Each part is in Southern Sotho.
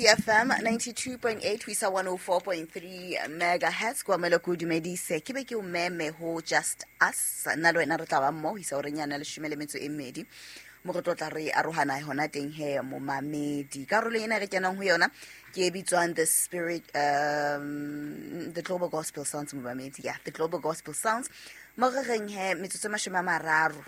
FM 92.8 ho isa 104.3 megahertz. Ke amele ko dumedise, ke be ke o meme ho Just Us. Nna le wena re tla ba mmoho ho isa horeng yana 12:30, mo re tlo tla re arohana hona teng he. Momamedi, karolo ena re kenang ho yona ke e bitswang the spirit the Global Gospel Sounds. Momamedi, ya, the Global Gospel Sounds, mo re reng he metsotso e 30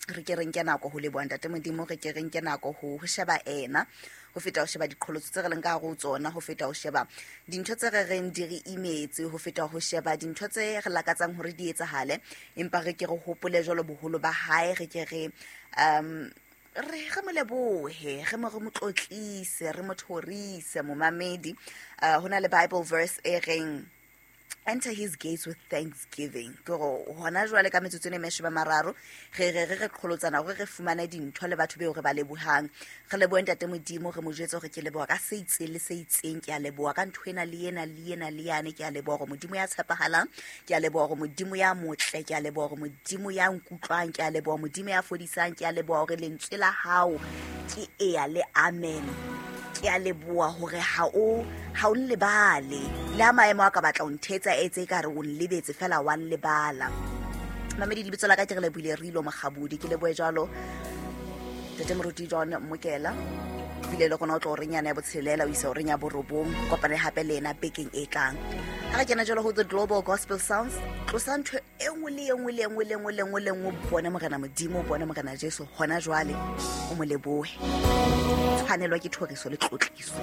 re ke re nke nako ho leboha Ntate Modimo, re ke re nke nako ho sheba ena ho feta ho sheba diqholotso tse re leng ka hare ho tsona, ho feta ho sheba dintho tse re reng di re imetse, ho feta ho sheba dintho tse re lakatsang hore di etsahale, empa re ke re hopole jwalo boholo ba hae, re ke re re mo lebohe, re mo tlotlise, re mo thorise. Momamedi, ho na le Bible verse e reng, "Enter his gates with thanksgiving." Ke gore hona jwale ka metsotso ene 30 re qholotsana hore re fumane dintho le batho beo re ba lebohang. Re lebohe Ntate Modimo, re mo jwetse hore ke leboha ka se itseng le se itseng, ke a leboha ka ntho ena le ena le ena le yane, ke a leboha hore Modimo ya tshepahalang, ke a leboha hore Modimo ya motle, ke a leboha hore Modimo ya nkutlwang, ke a leboha Modimo ya fodisang, ke a leboha hore lentswe la hao ke eya le amen, ke a leboha hore ha o nlebale le ha maemo a ka batla o nthetsa etse e ka re o nlebetse fela wa nlebala. Mamedi, lebitso la ka ke re lebohile Rilo Mokgabodi. Ke lebohe jwalo Tate Moruti John Mokela bile le gona o tlo reng yana ya 6 o isa o reng ya 9. Kopane gape le ena bekeng e tlang ga re kena jalo go the Global Gospel Sounds. Tlosa ntho e nngwe le e nngwe le e nngwe le nngwe le nngwe le nngwe, bone Morena Modimo, bone Morena Jesu hona jwale, o mo lebohe, tshwanelwa ke thoriso le tlotliso.